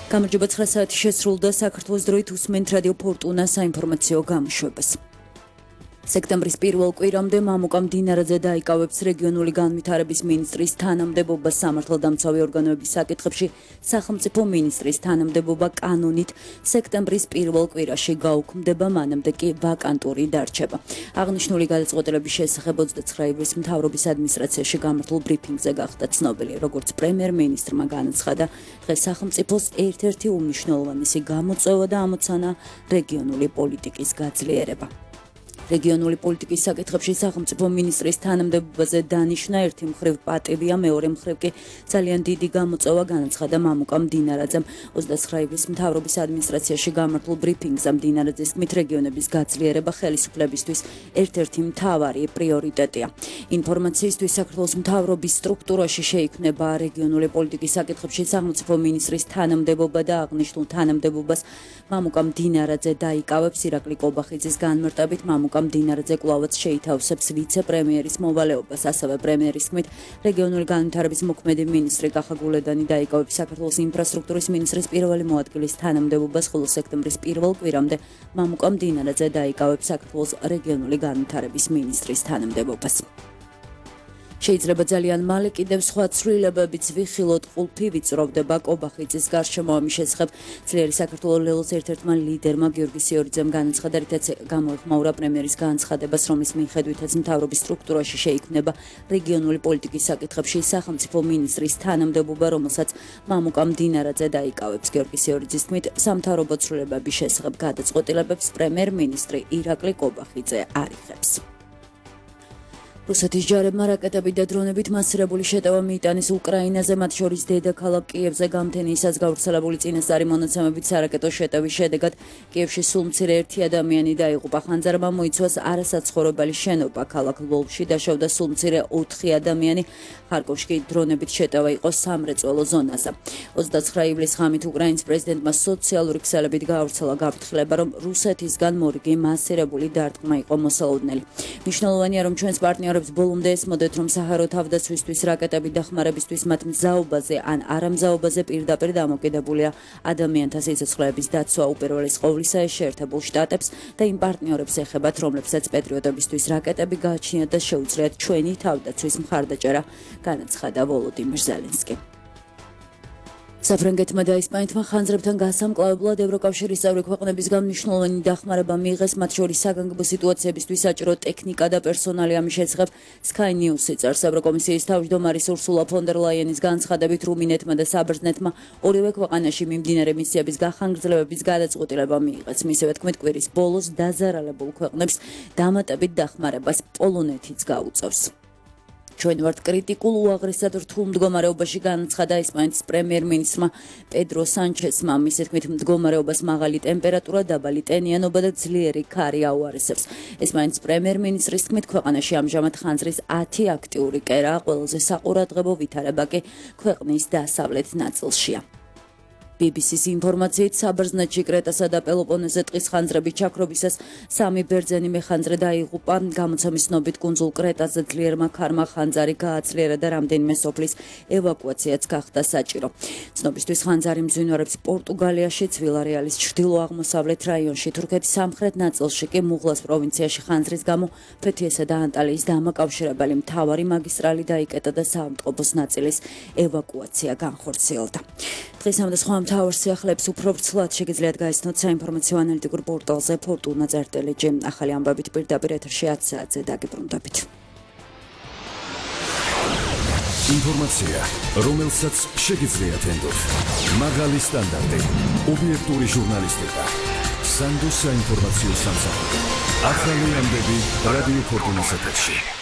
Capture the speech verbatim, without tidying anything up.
გამარჯობა ცხრა საათი შესრულდა საქართველოს დროით უსმენთ რადიო ფორტუნა საინფორმაციო გამოშვებას. სექტემბრის პირველ კვირამდე მამუკამ დინარაძე დაიკავებს რეგიონული განვითარების მინისტრის თანამდებობას სამართალდამცავი ორგანოების საკითხებში სახელმწიფო მინისტრის თანამდებობა კანონით სექტემბრის პირველ კვირაში გაუქმდება, მანამდე კი ვაკანტური დარჩება. აღნიშნული გადაწყვეტილების შესახებ ოცდაცხრა ივრის მთავრობის ადმინისტრაციაში გამართულ ბრიფინგზე გახდა ცნობილი, როგორც პრემიერ-მინისტრმა განაცხადა, დღეს სახელმწიფოს ერთ-ერთი უმნიშვნელოვანესი გამოწვევა და ამოცანა რეგიონული პოლიტიკის გაძლიერება. რეგიონული პოლიტიკის საკითხებში სახელმწიფო მინისტრის თანამდებობაზე დანიშვნა ერთი მხრივ პატივია, მეორე მხრივ კი ძალიან დიდი გამოწვევა, განაცხადა მამუკამ დინარაძემ ოცდაცხრა ივრის მთავრობის ადმინისტრაციაში გამართულ ბრიფინგზე. დინარაძის თქმით, რეგიონების გაძლიერება ხელისუფლებისთვის ერთ-ერთი მთავარი პრიორიტეტია. ინფორმაციისთვის საქართველოს მთავრობის სტრუქტურაში შეიქმნება რეგიონული პოლიტიკის საკითხებში სახელმწიფო მინისტრის თანამდებობა და აღნიშნულ თანამდებობას მამუკამ დინარაძე დაიკავებს. ირაკლი კობახიძის განმარტებით მამუკამ დინარაძე კვლავაც შეითავსებს ვიცე-პრემიერის მოვალეობას. ასევე პრემიერის თქმით, რეგიონული განვითარების მოქმედი მინისტრი კახა გულედანი დაიკავებს საქართველოს ინფრასტრუქტურის მინისტრის პირველი მოადგილის თანამდებობას, ხოლო სექტემბრის პირველ კვირამდე მამუკამ დინარაძე დაიკავებს საქართველოს რეგიონული განვითარების მინისტრის თანამდებობას. შეიძლება ძალიან მალე კიდევ სხვა ცვლილებებიც ვიხილოთ, ყულფი ვიწროვდება კობახიძის გარშემო. ამის შესახებ ძლიერი საქართველოს ლელოს ერთ-ერთმა ლიდერმა გიორგი სიორიძემ განაცხადა, რითაც გამოეხმაურა პრემიერის განცხადებას, რომლის მიხედვითაც მთავრობის სტრუქტურაში შეიქმნება რეგიონული პოლიტიკის საკითხებში სახელმწიფო მინისტრის თანამდებობა, რომელსაც მამუკამ დინარაძე დაიკავებს. გიორგი სიორიძის თქმით, სამთავრობო ცვლილებების შესახებ გადაწყვეტილებებს პრემიერ-მინისტრი ირაკლი კობახიძე არიხებს. რუსეთის ჯარებმა რაკეტებით და დრონებით მასირებული შეტევა მიიტანეს უკრაინაზე, მათ შორის დედაქალაქ კიევზე გამთენიისას გავრცელებული წინასწარი მონაცემებით სარაკეტო შეტევის შედეგად კიევში სულ მცირე ერთი ადამიანი დაიღუპა. ხანძარმა მოიცვას არასაცხოვრებელი შენობა. ქალაქ ლვოვში დაშავდა სულ მცირე ოთხი ადამიანი. ხარკოვში კი დრონებით შეტევა იყო სამრეწველო ზონაზე. ოცდაცხრა ივლის ღამით უკრაინის პრეზიდენტმა სოციალური ქსელებით გაავრცელა გაფრთხილება, რომ რუსეთისგან მორიგი მასირებული დარტყმა იყო მოსალოდნელი. მნიშვნელოვანია, რომ ჩვენს პარტნიორ ბოლომდე ესმოდეთ, რომ საჰარო თავდაცვისთვის რაკეტებით დახმარებისთვის მათ მზაობაზე ან არამზაობაზე პირდაპირ დამოკიდებულია ადამიანთა სიცოცხლეების დაცვა. უპირველეს ყოვლისა ეს შეერთებულ შტატებს და იმ პარტნიორებს ეხებათ, რომლებსაც პეტრიოტებისთვის რაკეტები გააჩნიათ და შეუძლიათ ჩვენი თავდაცვის მხარდაჭერა, განაცხადა ვოლოდიმირ ზელენსკი. საფრანგეთმა და ესპანეთმა ხანძრებთან გასამკლავებლად ევროკავშირის წევრი ქვეყნებისგან მნიშვნელოვანი დახმარება მიიღეს, მათ შორის საგანგებო სიტუაციებისთვის საჭირო ტექნიკა და პერსონალი. ამის შესახებ Sky News წერს. ევროკომისიის თავმჯდომარის ურსულა ფონ დერ ლაიენის განცხადებით, რუმინეთმა და საბერძნეთმა ორივე ქვეყანაში მიმდინარე მისიების გახანგრძლივების გადაწყვეტილება მიიღეს. მისივე თქმით, კვირის ბოლოს დაზარალებულ ქვეყნებს დამატებით დახმარებას პოლონეთიც გაუწევს. ჩვენ ვართ კრიტიკულ უაღრესად რთულ მდგომარეობაში, განაცხადა ესპანეთის პრემიერ-მინისტრმა პედრო სანჩესმა. მისი თქმით, მდგომარეობას მაღალი ტემპერატურა, დაბალი ტენიანობა და ძლიერი ქარი აუარესებს. ესპანეთის პრემიერ-მინისტრის თქმით, ქვეყანაში ამჟამად ხანძრის ათი აქტიური კერაა, ყველაზე საყურადღებო ვითარება კი ქვეყნის დასავლეთ ნაწილშია. ბი ბი სის ინფორმაციით, საბერძნეთში კრეტასა და პელოპონეზე ტყის ხანძრების ჩაქრობისას სამი ბერძენი მეხანძრე დაიღუპა. გამოცემის ცნობით, კუნძულ კრეტაზე ძლიერმა ქარმა ხანძარი გააცლიერა და რამდენიმე სოფლის ევაკუაციაც გახდა საჭირო. ცნობისთვის ხანძარი მძვინვარებს პორტუგალიაში, ვილარეალის ჩრდილო-აღმოსავლეთ რაიონში, თურქეთის სამხრეთ ნაწილში კი მუღლას პროვინციაში ხანძრის გამო ფეთიესა და ანტალიის დამაკავშირებელი მთავარი მაგისტრალი დაიკეტა და საავტობუს ნაწილის ევაკუაცია განხორციელდა. დღესამდე სხვა მთავარ სიახლეებს უფრო ვრცლად შეგიძლიათ გაიცნოთ საინფორმაციო ანალიტიკურ პორტალზე ფორტუნა წერტელეჯი. ახალი ამბებით პირდაპირ ეთერში ათი საათზე დაგიბრუნდებით. ინფორმაცია, რომელსაც შეგიძლიათ ენდოთ. მაღალი სტანდარტი, ობიექტური ჟურნალისტიკა, სანდო საინფორმაციო სამსახური. ახალი ამბები რადიო ფორტუნას ეთერში.